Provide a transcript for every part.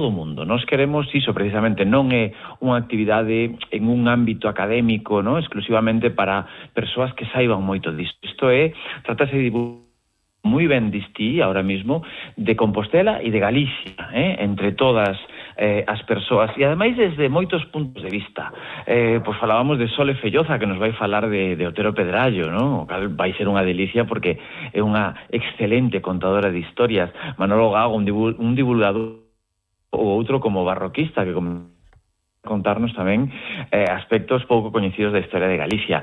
todo o mundo. Nós queremos iso precisamente, non é unha actividade en un ámbito académico, non exclusivamente para persoas que saiban moito disto. Isto é, tratase de moi ben distí, ahora mismo, de Compostela e de Galicia, entre todas as persoas, e ademais desde moitos puntos de vista. Pois falábamos de Sole Felloza, que nos vai falar de Otero Pedrallo, non? O cal vai ser unha delicia porque é unha excelente contadora de historias. Manolo Gago, un divulgador, ou outro como barroquista, que contarnos tamén aspectos pouco coñecidos da historia de Galicia.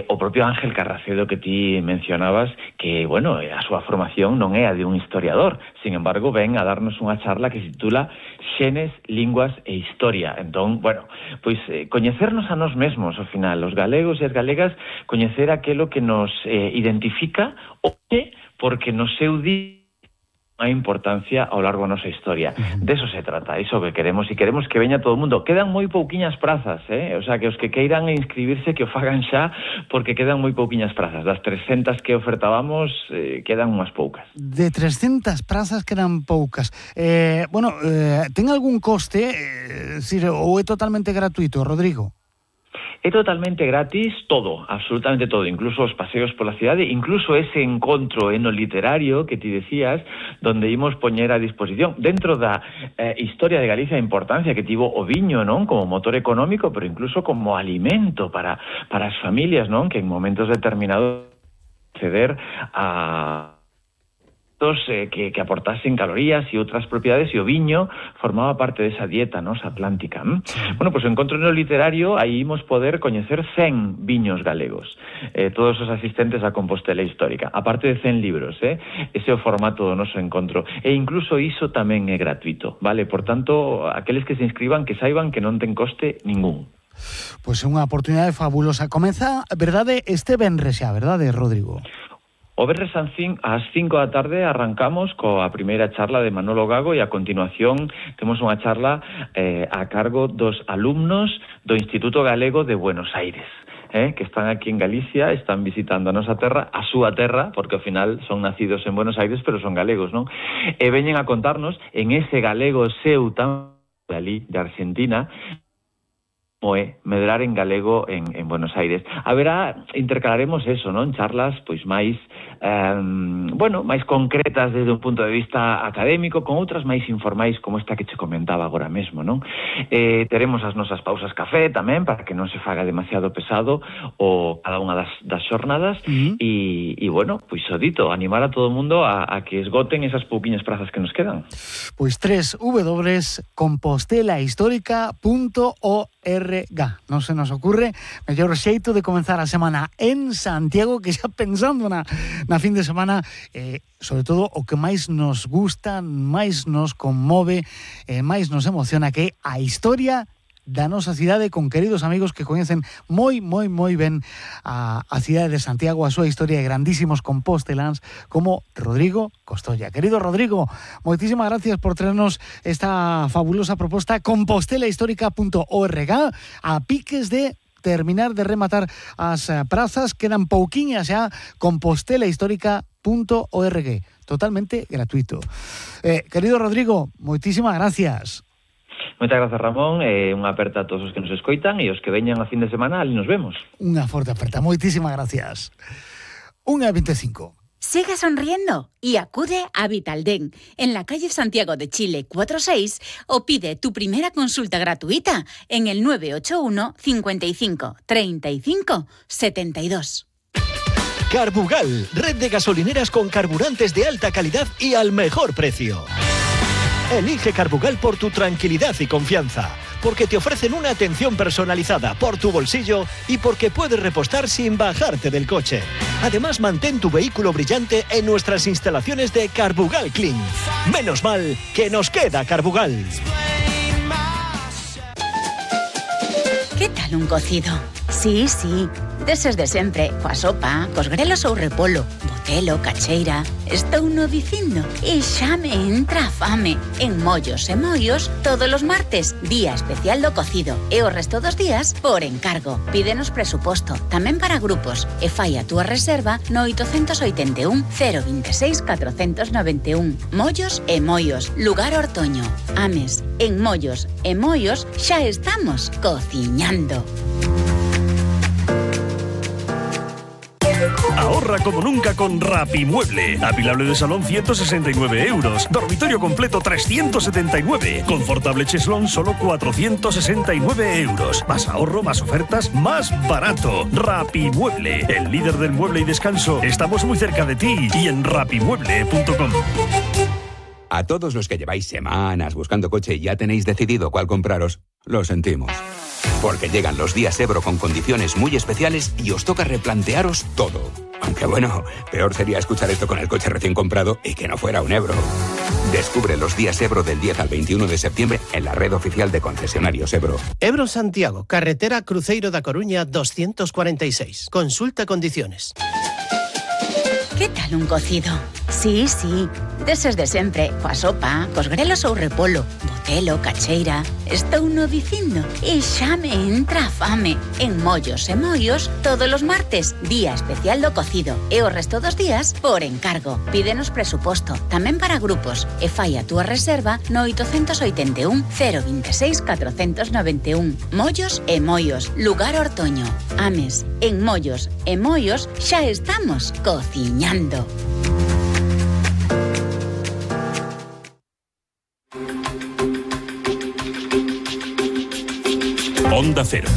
O propio Ángel Carracedo que ti mencionabas, que, bueno, a súa formación non é a de un historiador, sin embargo, ven a darnos unha charla que se titula Xenes, Linguas e Historia. Entón, bueno, pois coñecernos a nós mesmos, ao final, os galegos e as galegas, coñecer aquilo que nos identifica, porque no seu día a importancia ao largo da nosa historia. De eso se trata, iso que queremos, e queremos que veña todo o mundo. Quedan moi pouquiñas prazas, o sea, que os que queiran inscribirse que o fagan xa, porque quedan moi pouquiñas prazas. Das 300 que ofertábamos, quedan unhas poucas. De 300 prazas quedan poucas. Ten algún coste, ou é totalmente gratuito, Rodrigo? É totalmente gratis todo, absolutamente todo, incluso os paseos pola cidade, incluso ese encontro eno literario que ti decías, donde imos poñer a disposición, dentro da historia de Galicia, a importancia que tivo o viño, non? Como motor económico, pero incluso como alimento para as familias, non? Que en momentos determinados acceder a que aportasen calorías e outras propiedades, e o viño formaba parte desa dieta nosa atlántica. Bueno, pois o encontro no literario, aí imos poder coñecer 100 viños galegos, todos os asistentes á Compostela Histórica, aparte de 100 libros, ese é o formato do noso encontro, e incluso iso tamén é gratuito, vale? Por tanto, aqueles que se inscriban, que saiban que non ten coste ningún. Pois é unha oportunidade fabulosa. Comeza, verdade, este venres xa, verdade, Rodrigo? O venres ás 5 da tarde arrancamos coa primeira charla de Manolo Gago, e a continuación temos unha charla a cargo dos alumnos do Instituto Galego de Buenos Aires, que están aquí en Galicia, están visitando a nosa terra, a súa terra, porque ao final son nacidos en Buenos Aires, pero son galegos, non? E veñen a contarnos en ese galego seu tan de Argentina, como é medrar en galego en Buenos Aires. Intercalaremos eso, non? Charlas pois máis máis concretas desde un punto de vista académico, con outras máis informais como esta que che comentaba agora mesmo, non? Teremos as nosas pausas café tamén, para que non se faga demasiado pesado o cada unha das xornadas, e bueno, pois o dito, animar a todo o mundo a que esgoten esas pouquiñas prazas que nos quedan. Pois www.compostelahistórica.org. Non se nos ocurre mellor xeito de comenzar a semana en Santiago, que xa pensando na fin de semana, sobre todo o que máis nos gusta, máis nos conmove, máis nos emociona, que é a historia da nosa cidade, con queridos amigos que coñecen moi ben a cidade de Santiago, a súa historia, de grandísimos composteláns como Rodrigo Costolla. Querido Rodrigo, moitísimas gracias por traernos esta fabulosa proposta, compostelahistórica.org, a piques de terminar de rematar as prazas, quedan pouquiñas xa, compostelahistórica.org, totalmente gratuito. Querido Rodrigo, moitísimas gracias. Moitas grazas, Ramón, unha aperta a todos os que nos escoitan, e os que veñan a fin de semana, ali nos vemos. Unha forte aperta, moitísimas gracias. 1:25. Siga sonriendo y acude a Vitalden en la calle Santiago de Chile 46 o pide tu primera consulta gratuita en el 981 55 35 72. Carbugal, red de gasolineras con carburantes de alta calidad y al mejor precio. Elige Carbugal por tu tranquilidad y confianza, porque te ofrecen una atención personalizada por tu bolsillo y porque puedes repostar sin bajarte del coche. Además, mantén tu vehículo brillante en nuestras instalaciones de Carbugal Clean. Menos mal que nos queda Carbugal. ¿Qué tal un cocido? Sí, deses de sempre, coa sopa, cos grelos ou repolo, botelo, cacheira. Estou no dicindo e xa me entra a fame. En Mollos e Moios, todos os martes, día especial do cocido. E o resto dos días, por encargo. Pídenos presuposto, tamén para grupos. E fai a túa reserva no 881 026 491. Mollos e Moios, lugar Ortoño. Ames, en Mollos e Moios xa estamos cociñando. Ahorra como nunca con Rapimueble. Apilable de salón 169 euros. Dormitorio completo 379. Confortable cheslón solo 469 euros. Más ahorro, más ofertas, más barato. Rapimueble, el líder del mueble y descanso. Estamos muy cerca de ti y en rapimueble.com. A todos los que lleváis semanas buscando coche y ya tenéis decidido cuál compraros, lo sentimos. Porque llegan los días Ebro con condiciones muy especiales y os toca replantearos todo. Aunque bueno, peor sería escuchar esto con el coche recién comprado y que no fuera un Ebro. Descubre los días Ebro del 10 al 21 de septiembre en la red oficial de concesionarios Ebro. Ebro Santiago, carretera Cruzeiro da Coruña 246. Consulta condiciones. ¿Qué tal un cocido? Sí, deses de sempre, coa sopa, cos grelos ou repolo, botelo, cacheira. Estou no dicindo e xa me entra a fame. En Mollos e Moios, todos os martes, día especial do cocido. E o resto dos días, por encargo. Pídenos presuposto, tamén para grupos. E fai a túa reserva no 881 026 491. Mollos e Moios, lugar Ortoño. Ames, en Mollos e Moios xa estamos cociñando. Onda Cero.